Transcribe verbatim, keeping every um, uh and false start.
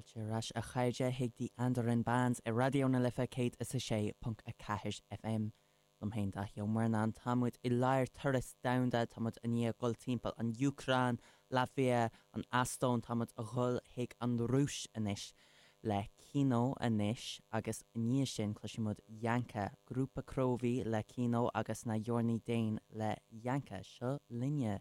Fáilte ar ais a chairde chuig The Andaran Bands ar Raidió na Life céad is a sé ponc a ceathair FM. Liom féin Daithí Ó Murnáin táimid i lár turas domhanda táimid i ndiaidh dul timpeall an Úcráin, Laitvia, an Eastóin táimid ag dul chuig an Rúis anois le Kino anois agus i ndiaidh sin cloisfimid Yanka, grúpa Krovi le Kino agus na Yorny Dane le Yanka seo linne.